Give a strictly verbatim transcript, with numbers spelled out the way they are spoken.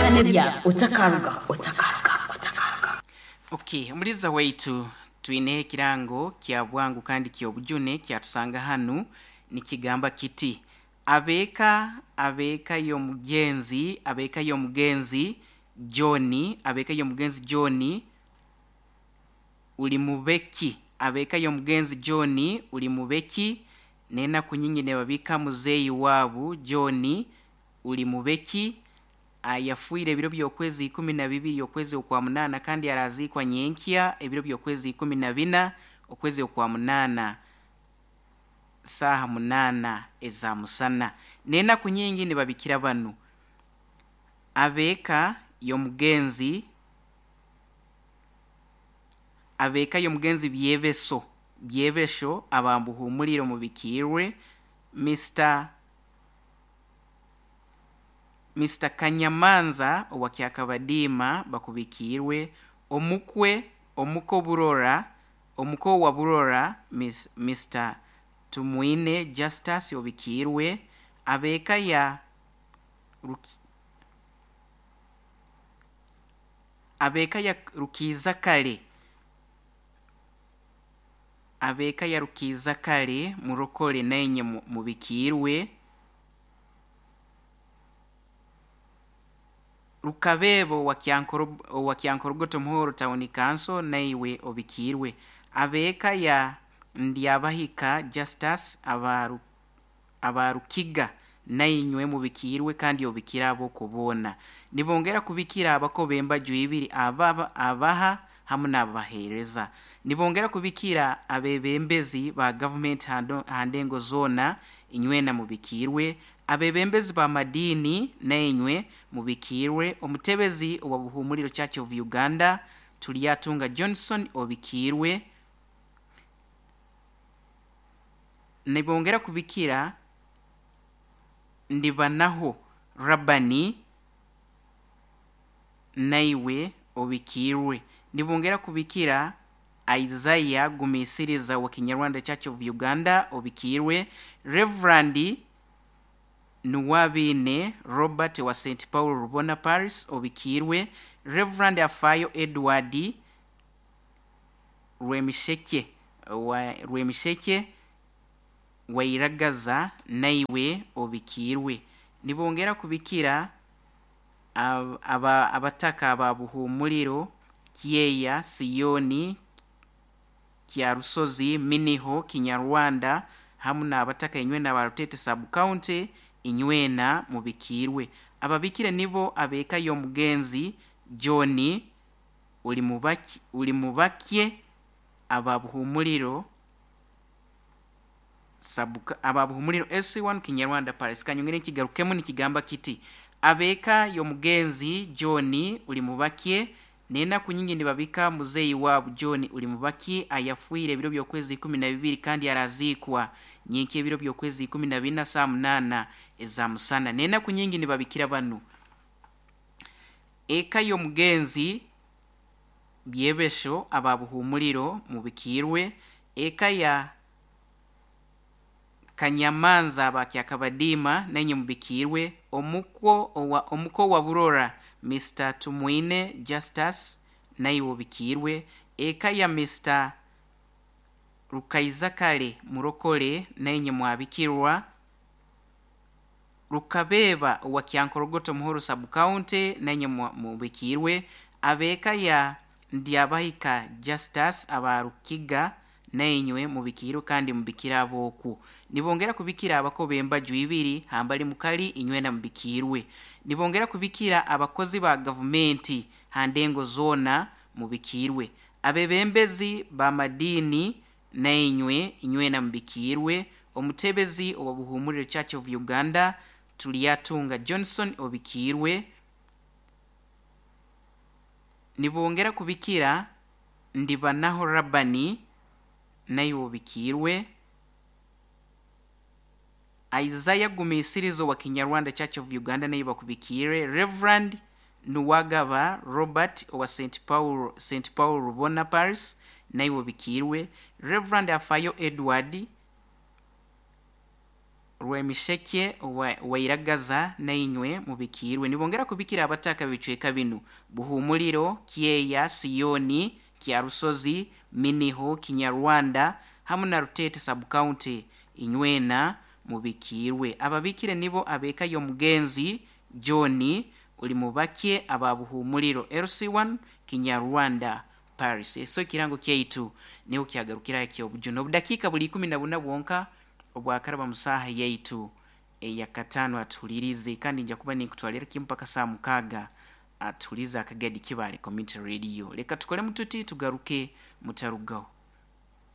N'ebyawe otakaruga, otakaruga, otakaruga. Okay, omuliza waitu, twine ekirango kya bwangu kandi ky'obujune kyatusanga hanu. Nikigamba kiti: abeeka abeeka y'omugenzi, abeeka y'omugenzi John, abeeka y'omugenzi John uli mubeki, abeeka y'omugenzi John uli mubeki, n'enaku nyingi nibabika muzeeyi waabu John uli mubeki, ayafiire ebiro by'okwezi ikumi na bibiri okwezi okwa munaana, kandi araziikwa nyenkya ebiro by'okwezi ikumi na bina okwezi okwa munaana saaha munaana eza musana. N'enaku nyingi nibabikira banu: abeeka y'omugenzi, abeeka y'omugenzi Byebeso, Byebesho abambuhumulire mubikiirwe, Mister Mister Kanyamanza owa Kyakabadiima bakubikiirwe, omukwe omuko Burora, omuko wa Burora Miss, Mister Tumwine Justus obikiirwe, abeeka ya Ruki, abeeka ya Rukiza kale, abeeka ya Rukiza kale murokole nainye mubikiirwe, Rukabeebo owa Kyankorogoto Muhoro Town Council naiwe obikiirwe, abeeka ya Ndyabahika Justus aba Abarukiga nainywe mubikiirwe kandi obikira ab'okuboona. Nibongera kubikira abako b'embaju ibiri, aba abaha hamu n'abaheereza. Nibongera kubikira abebembezi ba gavumenti ha ndengo zoona, inywena mubikiirwe, abebembezi b'amadiini nainywe mubikiirwe, omutebezi owa Buhumuliro Church of Uganda Tulyatunga Johnson obikiirwe. Nibongera kubikira Ndibanaho Rabani naiwe obikiirwe. Nibongera kubikira Isaiah Gumisiriza wa Kinyarwanda Church of Uganda obikiirwe, Reverend Nuwabine Robert wa Saint Paul Rubona Paris obikiirwe, Reverend Afayo Edward Rwemisheke wa Rwemisheke Wairagaza naiwe obikiirwe. Nibongera kubikira aba abataka aba Buhumuliro, Kyeya, Siyoni, Kyarusozi, Miniho, Kinyarwanda hamu n'abataka inywena aba Rutete Sub County, inywena mubikiirwe. Ababikire nibo abeeka y'omugenzi John uli mubaki uli mubakye aba Buhumuliro sabuka aba Buhumuliro S one Kinyarwanda Paris. Kanyongere kigarukemu nikigamba kiti: abeeka y'omugenzi John uli mubakye, n'enaku nyingi nibabika muzeeyi waabu John uli mubaki, ayafiire ebiro by'okwezi ikumi na bibiri kandi araziikwa nyenkya ebiro by'okwezi ikumi na bina saa munaana eza musana. N'enaku nyingi nibabikira banu: eka y'omugenzi Byebesho aba Buhumuliro mubikiirwe, eka ya Kanyamanza aba Kyakabadiima nainye mubikiirwe, omukwo owa omuko wa Burora Mister Tumwine Justus naiwe obikiirwe, eka ya Mister Rukaizakale murokole nainye mwabikirwa, Rukabeeba owa Kyankorogoto Muhoro Sub County nainye mubikiirwe, abeeka ya Ndyabahika Justus aba Rukiga nainywe mubikiirwe kandi mubikira ab'oku. Nibongera kubikira abako b'embaju ibiri hambali mukali, inywena mubikiirwe. Nibongera kubikira abakozi ba gavumenti ha ndengo zoona mubikiirwe, abebembezi b'amadiini nainywe inywena mubikiirwe, omutebezi owa Buhumuliro Church of Uganda Tulyatunga Johnson obikiirwe. Nibongera kubikira Ndibanaho Rabani naiwe obikiirwe, Isaiah Gumisirizo wa Kinyarwanda Church of Uganda naiwe bakubikiire, Reverend Nuwagaba Robert owa Saint Paul Saint Paul Rubona Paris naiwe obikiirwe, Reverend Afayo Edward Rwemisheke wa- Wairagaza, nainywe mubikirwe. Nibongera kubikira abataka bicweka binu: Buhumuliro, Kyeya, Siyoni, Kyarusozi, Miniho, Kinyarwanda hamu na Rutete subcounty, inywena mubikirwe. Ababikire nibo abeka y'omugenzi John uli mubake aba Buhumuliro L C one Kinyarwanda Paris. Eso ekirango kyaitu niho kyagarukira ekyobujuno. Obudakiika buli ikumi na buna bwonka obwakaraba mu saaha yaitu eyakataano. Atuhulirize, kandi nja kuba ninkutwalira kimu mpaka saa mukaaga. Atuhulize Akagadi Kibale Community Radio. Leka tukolemu tuti, tugaruke, mutarugaho.